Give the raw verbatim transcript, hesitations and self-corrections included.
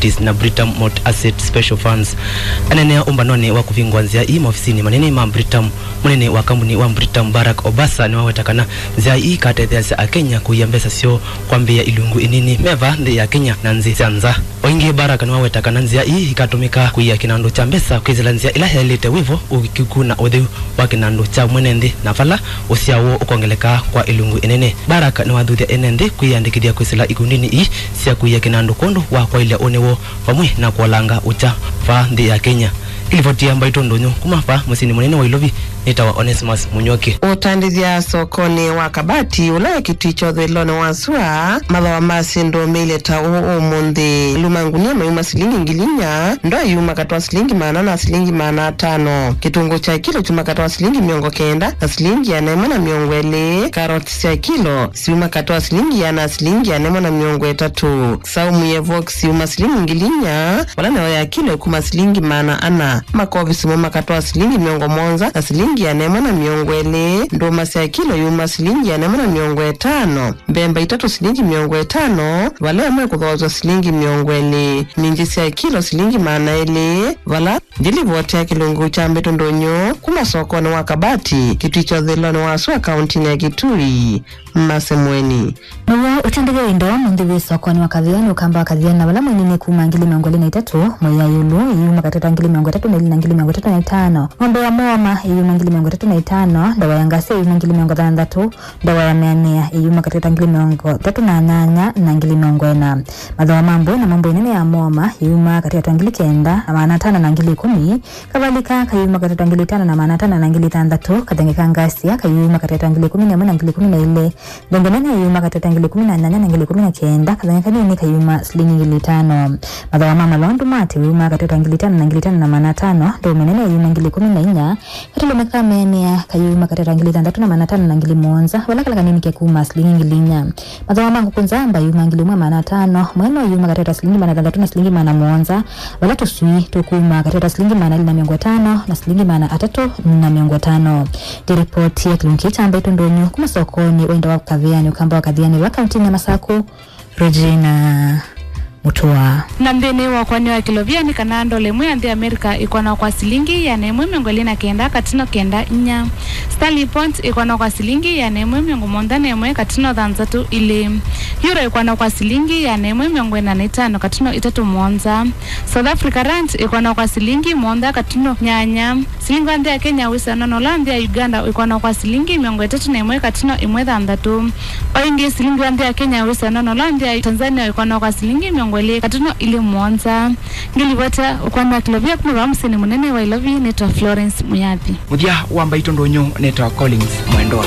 Commodities na Britam Multi-Asset Special Funds. Aneenea ũmbanonĩ wa kũvingũa nzĩa ii maovisinĩ manene ma Britam, mũnene wa kambuni wa Britam Barack Obasa nĩwaweta kana nzĩa ii ikatetheeasya Akenya kũia mbesa syoo kwambĩĩa ilungu inini me vaa nthĩ ya Kenya na nthĩ sya nza. O ĩngĩ, Barack nĩwaweta kana nzĩa ii ikatũmĩka kũia kĩnandũ kya mbesa kwĩsĩla nzĩa ĩla yaĩlĩte wĩvo, ũkiku na ũtheu wa kĩnandũ kya mwene nthĩ, na vala ũsyao woo ũkongeleka kwa ĩlungu ĩnene. Barack nĩwathuthya ene nthĩ kwĩyĩandĩkĩthya kwĩsĩla ikundinĩ ii sya kũia kĩnandũ kwondũ wa kwaĩlya ũnĩ woo vamwe na kũolanga ũkya vaa nthĩ ya Kenya. Ĩlivoti ya Mbaitũ Ndũnyũ kuma vaa mũsyĩnĩ mũnene wa Ilovi nĩtawa Onesmus Mũnyoki. Ũtandĩthya sokonĩ wa Kabati, ũla wĩ kĩtui kya ũthũĩlonĩ wa sua, mathooa ma syĩndũ meilye ta ũũ ũmũnthĩ. Maluu ma ngunia mayuma silingi ngili inya, ndoo iyuma katĩ wa silingi maana na silingi maana atano. Kĩtũngũũ kya kilo kyuma katĩ wa silingi mĩongo kenda na silingi ĩana ĩmwe na mĩongo ĩlĩ. Karoti sya kilo syuma katĩ wa silingi ĩana na silingi ĩana ĩmwe na mĩongo ĩtatũ. Saumu ye Vox yuma silingi ngili inya, vala nayo ya kilo ĩkuma silingi maana ana. Makovi simo makatwa silingi mĩongo mũonza na silingi ĩana ĩmwe na mĩongo ĩlĩ. Ndũma sya kilo yuma silingi ĩana ĩmwe na mĩongo ĩtano. Mbemba itatũ silingi mĩongo ĩtano, vala ĩmwe ĩkũthooswa silingi mĩongo ĩlĩ. Minji sya kilo silingi maana elĩ, vala ndilivoti ya kĩlungu kya Mbaitũ Ndũnyũ kuma sokonĩ wa Kabati, kĩtui kya ũthũĩlonĩ wa sua kauntinĩ ya Kitui. Masemweni. Now'o ũtandĩthya wa indo ũmũnthĩ wĩ sokonĩ wa Kathiani, ũkamba wa Kathiani, na vala mwĩnini kuma ngili mĩongo ĩlĩ na itatũ, mwei ya ĩũlũ, ĩyuma katĩ wa ngili mĩongo ĩtatũ na ilĩ na ngili mĩongo ĩtatũ na itano, ng'ombe ya mũoma ĩyuma ngili mĩongo ĩtatũ na itano, ndawa ya ngasia ĩyuma ngili mĩongo thanthatũ, ndawa ya mĩanĩa ĩyuma katĩ wa ngili mĩongo ĩtatũ na nyanya na ngili mĩongo ĩna. Mathooa ma mbũi na mbũi nene ya mũoma ĩyuma katĩ wa ngili kenda na maana atano na ngili ĩkũmi, kavalika kayuma katĩ wa ngili itano na maana atano na ngili thanthatũ, kathenge ka ngasia kayuma katĩ wa ngili ĩkũmi na ĩmwe na ngili ĩkũmi na ilĩ, Thenge nene yuma katĩ wa ngili ĩkũmi na nyanya na ngili ĩkũmi na kenda, kathenya kanini kayuma silingi ngili itano. Mathooa ma malondu ma atĩ yuma katĩ wa ngili itano na ngili itano na maana atano, ndũũme nene yuma ngili ĩkũmi na inya, katũlũme ka mĩanĩa kayuma katĩ wa ngili thanthatũ na maana atano na ngili mũonza, vala kala kanini kekuma silingi ngili inya. Mathooa ma ngũkũ nzamba yuma ngili ĩmwe maana atano, mweno yuma katĩ wa silingi maana thanthatũ na silingi maana mũonza, vala tũswii tũkuma katĩ wa silingi maana elĩ na mĩongo ĩtano na silingi maana atatũ na mĩongo ĩtano. Nĩ ripoti ya kĩlungu kya Mbaitũ Ndũnyũ kuma sokonĩ wa indo wa Kathiani, ũkamba wa Kathiani, va kauntinĩ ya Masaku, Regina Mutua. Na nthĩnĩ wa ũkũani wa kĩlovia nĩ kana ndola ĩmwe ya nthĩ ya Amerika ĩkũanwa kwa silingi ĩana ĩmwe mĩongo ĩlĩ na kenda katino kenda inya. Sterling pound ĩkũanwa kwa silingi ĩana ĩmwe mĩongo mũonza na ĩmwe katino thanthatũ ilĩ. Euro ĩkũanwa kwa silingi ĩana ĩmwe mĩongo ĩna na itano katino itatũ mũonza. South Africa rand ĩkũanwa kwa silingi mũonza katino nyanya. Silingi wa nthĩ ya Kenya wĩsana na ũla nthĩ ya Uganda wĩkwanwa kwa silingi mĩongo ĩtatũ na ĩmwe katino ĩmwe thanthatũ. O ĩngĩ, silingi wa nthĩ ya Kenya wĩsana na ũla nthĩ ya Tanzania wĩkwanwa kwa silingi mĩongo ĩlĩ katino ilĩ mũonza. Ngĩlivota ũkũani wa kĩlovia kuma vaa mũsyĩnĩ mũnene wa Ilovi, nĩtwa Florence Muyathi. Mũthya wa Mbaitũ Ndũnyũ, nĩtwa Collins Mwendwa.